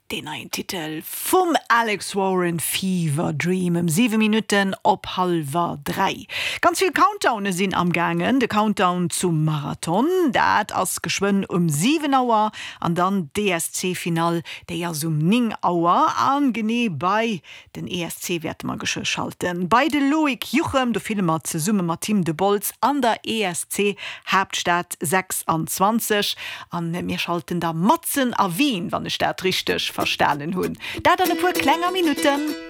Deen neien Titel vum Alex Warren, Fever Dream, ëm 7 Minutten op hallwer 3. Ganz vill Countdowne sinn am gaangen. De Countdown zum Marathon, dat ass geschwënn um 7 Auer an dann d'ESC-Finall, déi ass um 9 Auer. An genee bei Den ESC wäerte mer geschwë schalten. Bei de Loïc Juchem, do fille mer zesumme mat him de Bols an der ESC Haaptstad 26. An mir schalten da matzen a Wien, wann ech dat richteg verstanen hunn. Dat an e puer klenger Minutten.